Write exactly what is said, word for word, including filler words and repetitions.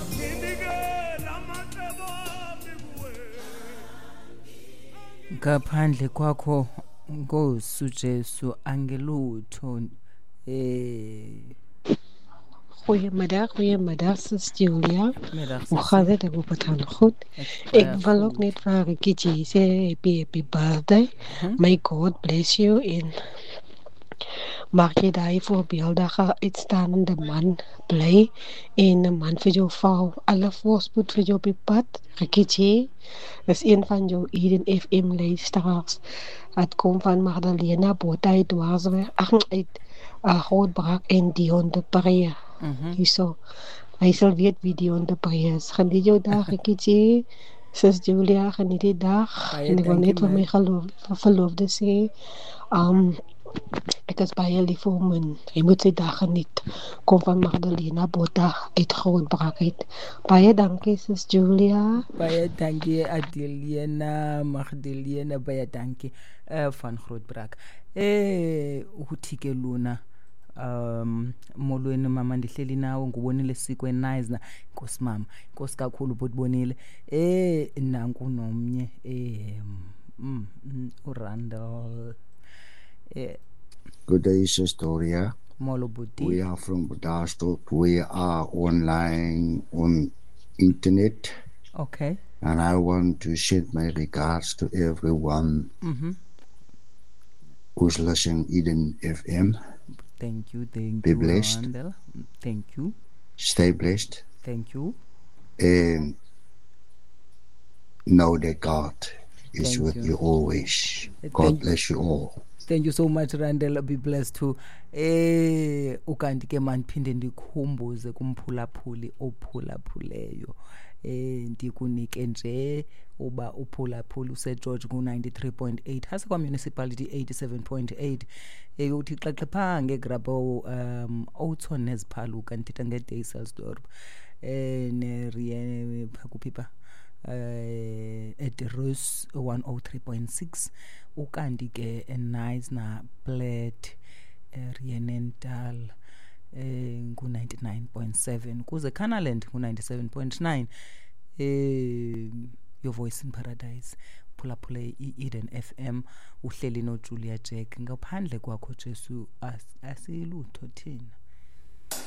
Nginikela amacebo ami kuwe. Ngaphandle kwakho Nkosi uJesu angelutho eh. Goedemiddag, goedemiddag, sis Julia. Middag, Hoe sis. gaat het? Ik hoop het gaat goed. Het Ik gaat wil ook goed. net vir Ricky G sê happy, happy birthday. Mhm. May God bless you en mag jy daai voorbeeldige uitstaande man bly en 'n man vir jou val. Alle voorspoed vir jou op die pad. Ricky G is een van jou Eden F M luisteraars. Het kom van Magdalena Botha uit Dwarsweg, ag, uit, uh, Grootbrak en Dion de Pre. Mhm. Hierso. Hy sal weet wie Dion de Pre is. Geniet jou dag, Ricky G. Sis Julia, geniet die dag. Baie En ek wil dankie, net vir my my. geloof, verloofde sê, um, ek is baie lief vir hom en hy moet sy dag geniet. Kom van Magdalena Botha uit Grootbrak uit. Baie dankie, sis Julia. Baie dankie, Adelena, Magdalena, baie dankie, eh, van Grootbrak. Eh, uthi ke lona, um, molweni mama, ndihleli nawe, ngubonile sikwe nice na. Nkosi mama, nkosi kakhulu butibonile. Eh, nanku nomnye, eh, mm, mm, uRandall. Eh, Good day, Sistoria. Molo buti. We are from Bredasdorp. We are online on internet. Okay. And I want to send my regards to everyone Mm-hmm. who's listening Eden F M. Thank you, thank Be you, blessed. Randall. Thank you. Stay blessed. Thank you. And know that God is Thank with you. you always. Thank God bless you all. Thank you so much, Randall. Be blessed too. Eh, ukanti ke mandiphinde ndikhumbuze kumphulaphuli ophulaphuleyo. Eh, ndikunike nje uba uphulaphula useGeorge ku ninety-three point eight, hase kwa municipality eighty-seven point eight. Eh, uthi xaxe phaa ngeGrabouw, um, Oudtshoorn neziphaluka, ndithetha ngeDysselsdorp. Eh, nerie kuphi pha? Eh, at Rus one oh three point six, ukanti ke eKnysna Plet, eh, Rheenendal, eh, ngu ninety-nine point seven, kuze Canaland ngu ninety-seven point nine. Eh, Your Voice in Paradise, phulaphule i-Eden F M, uhleli noJulia Jack. Ngaphandle kwakho Jesu, as-, asilutho thina.